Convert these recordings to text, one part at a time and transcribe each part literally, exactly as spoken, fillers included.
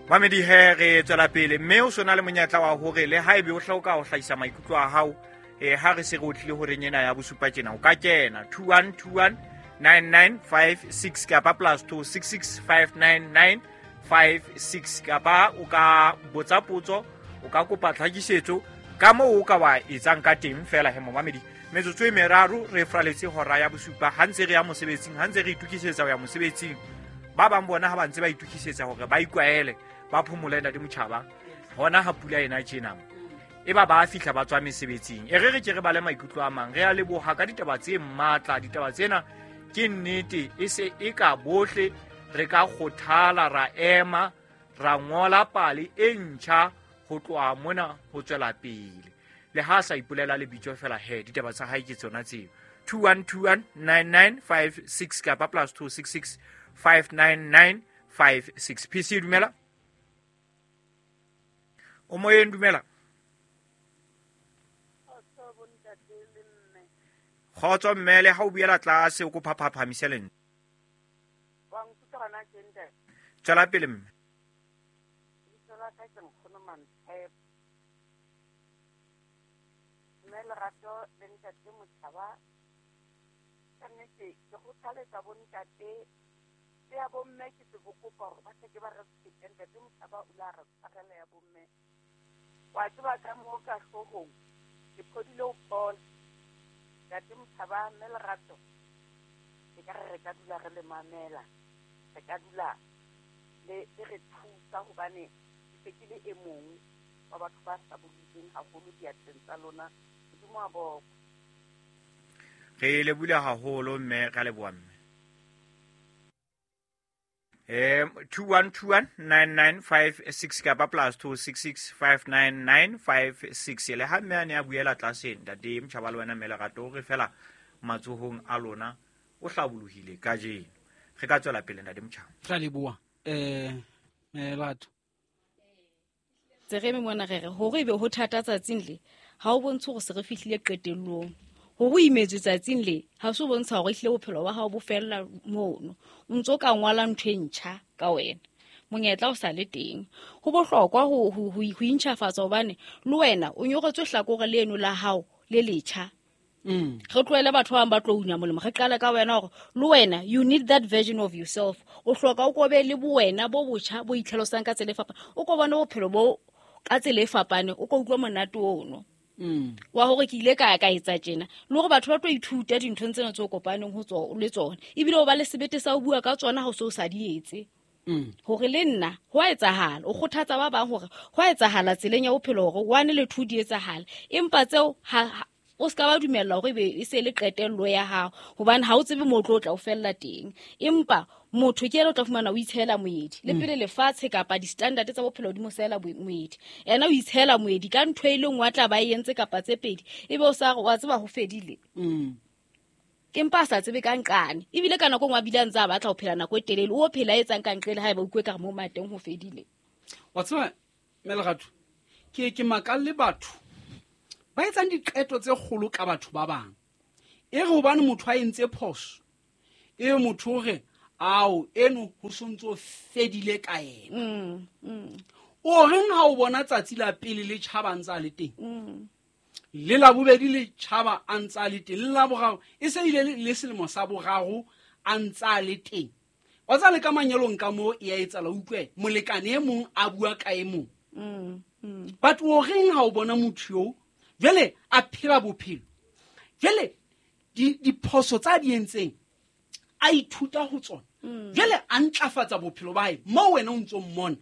Mamedi he re tswela pele mme o sona le monyetla wa hore le haebe o hloka ho hlahisa maikutlo a hao eh ha re se re otlile horeng ena ya bosupa tjena o ka kena two one two one nine nine five six kapa plus two six six five nine nine five six kapa o ka botsa potso o ka kopa tlhakisetso ka moo o ka wa etsang ka teng fela he momamedi. Metsotso e meraro re fraletse hora ya bosupa ha ntse re ya mosebetsing, ha ntse re itokisetsa ho ya mosebetsing. Ba bang bona ha ba ntse ba itokisetsa hore ba ikwaele ba phomole ntate Motjhaba hona ha pula ena tjena e ba ba fihla ba tswa mesebetsing. E re re ke re bale maikutlo a mang. Re a leboha ka ditaba tse matla. Ditaba tsena ke nnete e se e ka bohle re ka kgothala ra ema ra ngola pale e ntjha ho tloha mona ho tswela pele. Le ha sa ipolela lebitso fela he ditaba tsa hae ke tsona tseo. two one two one nine nine five six kapa plus two six six five nine nine five six. P C dumela. O moyeng dumela. Kgotso mme le ha o buela tlase o kopa phaphamise lentswe. Tswela pele mme. Mme Lerato le ntate Motjhaba, ka nnete ke kgothaletsa bontate le ya bomme ke se kopa hore ba se ke ba re fete. Ntate Motjhaba o la re tshwarela ya bomme. Wa tseba ka moo ka hloohong ke phodile ho phola. Ntate Motjhaba, mme Lerato, ke ka re re ka dula re le mamela, re ka dula le re thusa hobane ke se ke le e mong wa batho ba hlabollotsweng haholo diatleng tsa lona. Modimo a bokwe. Re lebohile haholo mme ra leboha mme. Eh two one two one nine nine five six kapa plus two six six five nine nine five six. Le ha mme a ne a buela tlase ntate Motjhaba le wena mme Lerato re fela matsohong a lona o hlabolohile kajeno. Re ka tswela pele ntate Motjhaba. Ra leboha eh Lerato. Tse re mona re re hore ebe ho thata tsatsing le ha o bontshe hore se re fihlile qetellong. Hore o imetswe tsatsing le ha se o bontsha hore ehlile bophelo ba hao bo fella mono. O ntso ka ngwala ntho e ntjha ka wena. Monyetla o sa le teng. Ho bohlokwa ho ho ho intjhafatsa hobane le wena o nyoretswe hlakore leno la hao le letjha. Mm. Re tlohele batho ba bang ba tlo una molemo. Re qale ka wena hore le wena you need that version of yourself. O hloka o kobe le bowena bo botjha bo itlhalosang ka tsela e fapaneng. O ko bone bophelo bo ka tsela e fapaneng, o ko utlwa monate ono. Mm. Wa hore ke ile ka ka etsa tjena. Le hore batho ba tlo ithuta dinthong tsena tse o kopaneng ho tsona le tsona. Ebile o ba le sebete sa ho bua ka tsona ha o se o sa di etse. Mm. Hore le nna ho a etsahala, o kgothatsa ba bang hore ho a etsahala tseleng ya bophelo hore one le two di etsahala. Empa tseo ha o ska ba dumella hore ebe e se le qetello ya hao hobane ha o tsebe mo tlo tla o fella teng. Empa motho ke yena o tla fumana o itshela moedi le pele lefatshe kapa di-standard tsa bophelo di mo sela moedi. Yena o itshela moedi ka ntho e le nngwe a tla ba e entse kapa tse pedi ebe o sa re wa tseba ho fedile. Mm. Empa a sa tsebe ka nqane ebile ka nako e nngwe a bile a ntse a batla ho phela nako e telele o phela etsang ka nqele haeba o utlwe ka re mo mateng ho fedile. Wa tseba mme Lerato ke ke makalle batho ba etsang diqeto tse kgolo ka batho ba bang. E re hobane motho a entse phoso, e motho o re ao eno ho sontso fedile ka yena. Mm, mm. O reng ha o bona tsatsi la pele le tjhaba a ntse a le teng? Mm. Le la bobedi le tjhaba a ntse a le teng, le la boraro e se ile le selemo sa boraro a ntse a le teng. Wa tseba le ka manyalong ka moo e a etsahala, utlwe molekane e mong a bua ka e mong. Mm, mm. But o reng ha o bona motho eo jwale a phela bophelo, jwale di diphoso tsa di entseng a ithuta ho tsona, jwale a ntlafatsa bophelo ba hae mo wena o ntso mmona.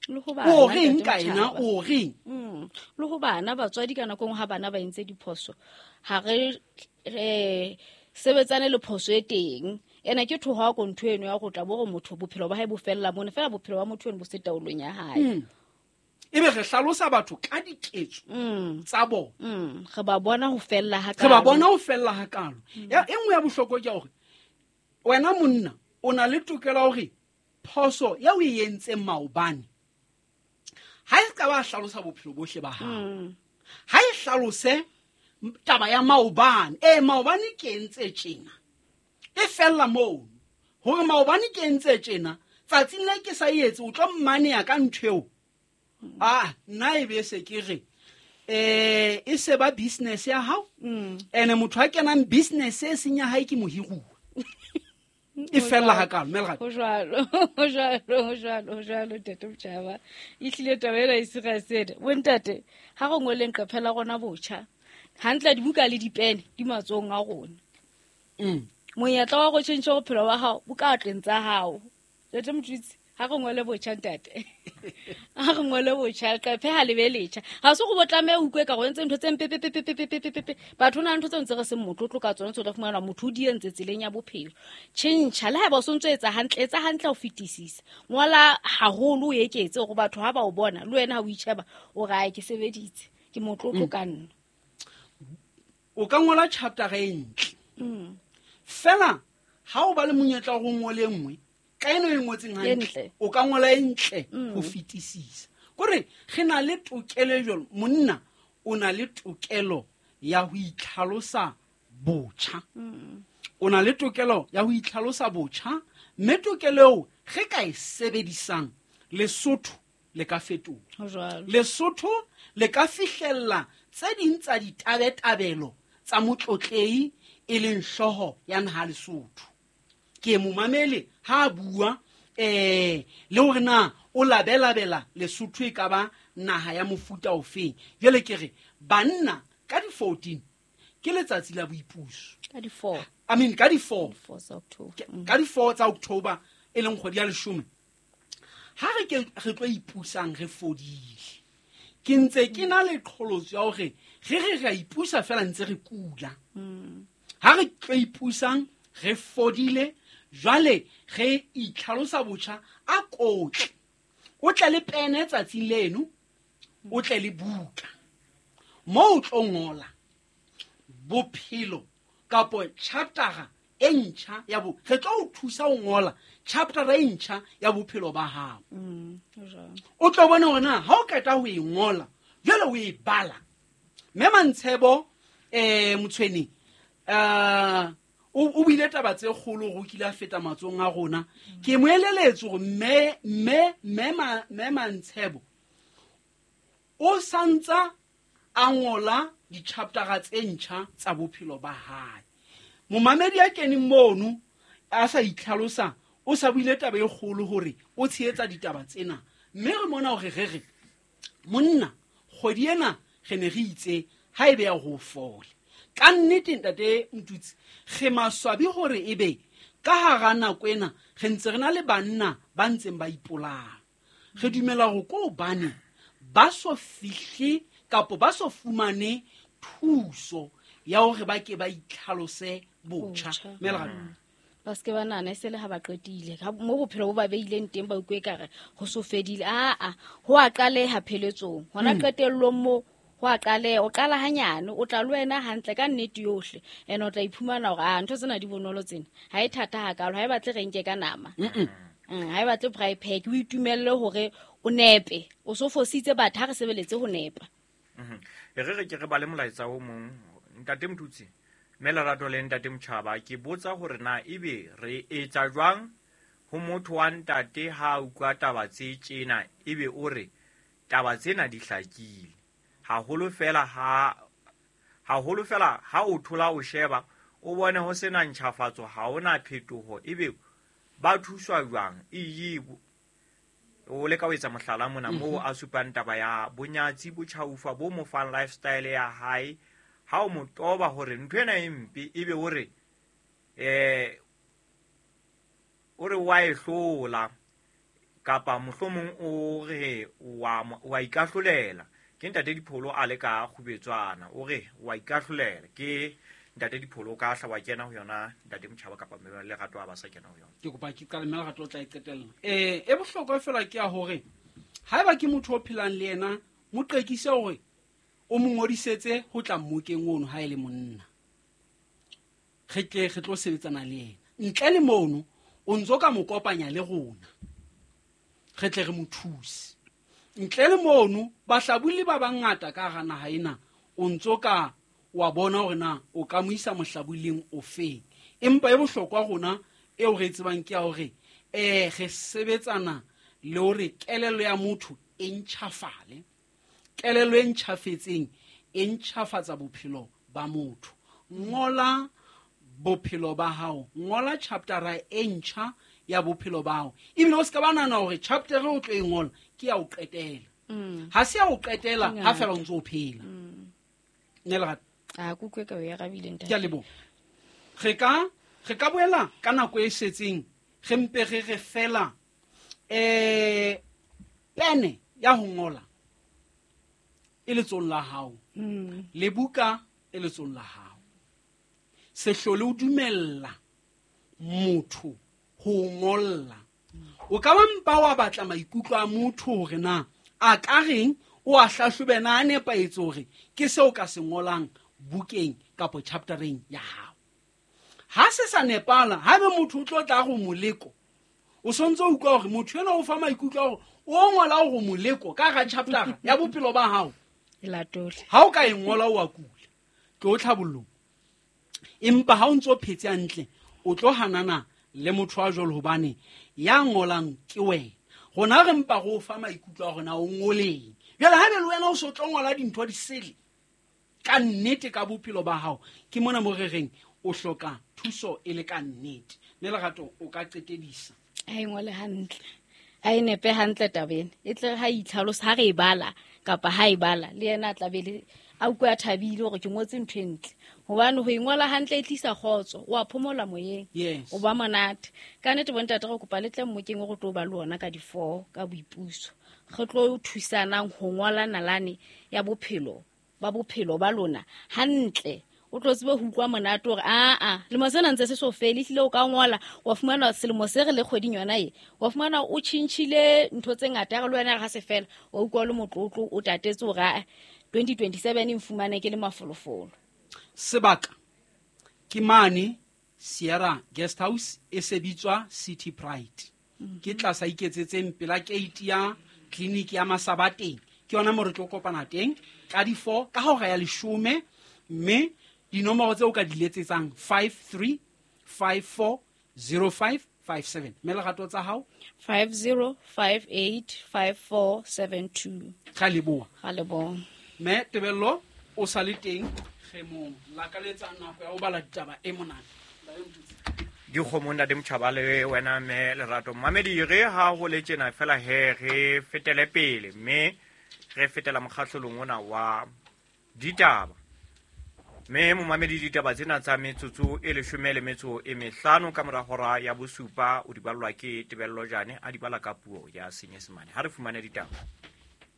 Le ho bana, O reng ntate ka ena, Motjhaba. o reng? Mm. Le ho bana batswadi ka nako e nngwe ha bana ba entse diphoso ha re re sebetsane le phoso e teng. Ena ke thoha ko ntho eno ya go tla bo gore motho bophelo ba hae bo fella mona fela bophelo ba motho eno bo se taolong ya hae. Mm. Ebe re hlalosa batho ka diketso Mm. tsa bona. Mm. Re ba bona ho fella ha Re ba kalo. bona ho fella ha kalo. Ya e nngwe ya bohlokwa ke hore wena monna o na le tokelo ya hore phoso ya o e entseng maobane ha e ka ba hlalosa bophelo bohle ba hao. Mm. Ha e hlalose taba ya maobane. Eh maobane ke entse tjena. E fella moo. Hore maobane ke entse tjena, Tsatsing le ke sa etse o tlo mmaneya ka ntho eo. Ah, nna e be se ke re eh e se ba business ya hao. Ene motho a kenang business e seng ya hae ke mohiruwa. E fella hakalo mme Lerato. Ho jwalo, ho jwalo, ho jwalo, ho jwalo ntate Motjhaba. Ehlile taba ena e serious ena. Bontate, ha re ngoleng qephe la rona botjha. Hantle dibuka le dipene di matsohong a rona. Mm. Monyetla wa go tjhentjha bophelo ba hao bo ka atleng tsa hao. Ntate Motjhitsi, ha re ngole botjha ntate. Ha re ngole botjha, leqephe ha le be letjha. Ha se go bo tlameha o utlwe ka go entse ntho tse mpe pe pe pe pe pe pe pe. Batho na ntho tse ntse re seng motlotlo ka tsona, tse o tla fumana motho o di entse tseleng ya bophelo. Tjhentjha le haeba o sontso etsa hantle, etsa hantle ho fetisisa. Ngola haholo o eketse hore batho ha ba o bona le wena ha o itjheba o re ai ke sebeditse, ke motlotlo ka nna. O ka ngola chapter e ntle. Mm. Fela ha o ba le monyetla wa ho ngola e nngwe, ka eno e ngotseng hantle, o ka ngola e ntle ho fetisisa. Kore re na le tokelo jwalo, monna o na le tokelo ya ho itlhalosa botjha. O na le tokelo ya ho itlhalosa botjha, mme tokelo eo re ka e sebedisang Lesotho le ka fetoha. Ho jwalo. Lesotho le ka fihlella tse ding tsa ditabetabelo tsa motlotlehi e leng hlooho ya naha Lesotho. Ke momamele ha a bua eh le hore na o labelabela Lesotho e ka ba naha ya mofuta ofeng. Jwale ke re banna ka di fourteen ke letsatsi la boipuso. Ka di four. I mean ka di four. Four tsa October. Ka di four tsa October e leng kgwedi ya leshome. Ha re ke re tlo ipusang re fodile. Ke ntse ke na le qholotso ya hore re re re a ipusa fela ntse re kula. Ha re tlo ipusang re fodile, jwale re itlhalosa botjha a kotle. O tle le pene tsatsing leno, o tle le buka. Moo o tlo ngola bophelo kapo chapter e ntjha ya bo re tlo o thusa ho ngola chapter e ntjha ya bophelo ba hao. Mm, ho jwalo. O tlo bona hore na ha o qeta ho e ngola, jwale o e bala. Mme Mantshebo eh Motshweni eh o buile taba tse kgolo go kile a feta matsong a rona. Ke mo eleletse hore mme mme mme mme Mantshebo o santsa a ngola di-chapter tse ntjha tsa bophelo ba hae. Momamedi a keneng mono a sa itlhalosa o sa buile taba e kgolo hore o tshehetsa ditaba tsena. Mme re mona hore re re monna kgwedi ena re ne re itse ha ebe ya ho fola. Ka nnete ntate Motutsi re maswabi hore ebe ka hara nako ena re ntse re na le banna ba ntseng ba ipolaya. Re dumela hore ko hobane ba so fihle kapo ba so fumane thuso ya hore ba ke ba itlhalose botjha. Mme Lerato. Ba se ke ba nahana e se le ha ba qetile. Ha mo bophelo bo ba beileng teng ba utlwe ekare ho so fedile. Aa, ho a qaleha pheletsong. Hona qetellong mo ho a qaleha, o qala hanyane, o tla le wena hantle ka nnete yohle. Ene o tla iphumana hore a ntho tsena di bonolo tsena. Ha e thata hakalo, ha e batle re nke ka nama. Mm, ha e batle braai pack, o itumelle hore o nepe. O so fositse batho ha re sebeletse ho nepa. Mhm. E re re ke re bale molaetsa o mong. Ntate Motutsi, mme Lerato le ntate Motjhaba, ke botsa hore na ebe re etsa jwang ho motho wa ntate ha a utlwa taba tse tjena ebe o re taba tsena di hlakile. Haholo fela ha haholo fela ha o thola o sheba o bone ho sena ntjhafatso, ha hona phetoho, ebe ba thuswa jwang? Ee, o leka ho etsa mohlala mona moo a supang taba ya bonyatsi bo tjhaufa bo mo fang lifestyle ya hae. Ha o mo toba hore ntho ena e mpe ebe o re eh o re wa e hlola kapa mohlomong o re wa wa ikahlolela. Ke ntate Dipholo a le ka kgubetswana, o re wa ikahlolela. Ke ntate Dipholo ka hla wa kena ho yona ntate Motjhaba kapa mme Lerato a ba sa kena ho yona. Ke kopa ke qale mme Lerato o tla e qetella. Eh e bohlokwa fela ke ya hore haeba ke motho o phelang le yena, mo qekise hore o mo ngodisetse ho tla mmokeng ono ha e le monna. Re tle re tlo sebetsana le yena. Ntle le mono o ntso ka mo kopanya le rona. Re tle re mo thuse. Ntle le mono bahlabulli ba bangata ka hara naha ena o ntso ka wa bona hore na o ka mo isa mohlabulling ofeng. Empa e bohlokwa rona eo re e tsebang ke ya hore um re sebetsana le hore kelello ya motho e ntjhafale. Kelello e ntjhafetseng e ntjhafatsa bophelo ba motho. Ngola bophelo ba hao, ngola chaptera e ntjha ya bophelo ba hao. Ebile o ska ba nahana hore chapter o tlo e ngola ke ya ho qetela. Ha se ya ho qetela ha fela o ntso o phela. Nne Lerato. A ke utlwe ka o e arabile ntate. Ke a leboha. Re ka re ka boela ka nako e setseng re mpe re re fela eh pene ya ho ngola e letsohong la hao, le buka e letsohong la hao. Se hlole o dumella motho ho ngolla. O ka ba mpa wa batla maikutlo a motho hore na a ka reng, o a hlahlobe na a nepahetse hore ke seo ka se ngolang bukeng kapa chaptereng ya hao. Ha se sa nepala, haebe motho o tlo tla go moleko, o sontse o utlwa hore motho enwa o fa maikutlo a hore o ngola hore moleko ka ga chapter ya bophelo ba hao. E latole. Ha o ka e ngola o a kula, tlo tlhabollong. Empa ha o ntso phetse hantle, o tlo hanana le motho wa jwalo hobane ya ngolang ke wena. Rona re mpa go fa maikutlo a rona o ngoleng. Jwale haebe le wena o so tlo ngola dintho di sele ka nnete ka bophelo ba hao, ke mona mo re reng o hloka thuso e le ka nnete. Mme Lerato o ka qetedisa. A e ngole hantle, a e nepe hantle tabeng e tle ha itlhalosa ha re e bala kapa ha e bala le yena a tla be le a utlwe a thabile hore ke ngotse ntho e ntle. Hobane ho e ngola hantle e tlisa kgotso, o a phomola moyeng, Yes. o ba monate. Ka nnete bontate re kopa le tle mmokeng o re tlo ba le ona ka di-four ka boipuso. Re tlo thusanang ho ngola nalane ya bophelo ba bophelo ba lona hantle. O tlo tsebe ho utlwa monate hore aa lemo sena ntse se so fele, ehlile o ka ngola wa fumana selemo se re le kgweding yona e, wa fumana o tjhentjhile ntho tse ngata, ya re le wena re ha se fela wa utlwa o le motlotlo, o tatetse hore aa twenty twenty-seven e nfumane ke le mafolofolo. Sebaka ke mane Sierra Guest House e sebitswa City Pride. Ke tlasa iketsetseng pela gate ya clinic ya Masabateng. Ke yona mo re tlo kopana teng ka di four ka hora ya leshome, mme dinomoro tseo o ka di letsetsang five three five four zero five five seven. Mme Lerato tsa hao? five zero five eight five four seven two. Ra leboha. Ra leboha. Mme Tebello o sa le teng re mo lakaletsa nako ya ho bala ditaba e monate. Dikgomo ntate Motjhaba le wena mme Lerato. Mamedi re ha ho le tjena fela he re fetele pele mme re fetela mokgahlelong ona wa ditaba. Mme momamedi ditaba tsena tsa metsotso e leshome le metso e mehlano ka mora hora ya bosupa o di ballwa ke Tebello Jane a di bala ka puo ya Senyesemane. Ha re fumane ditaba.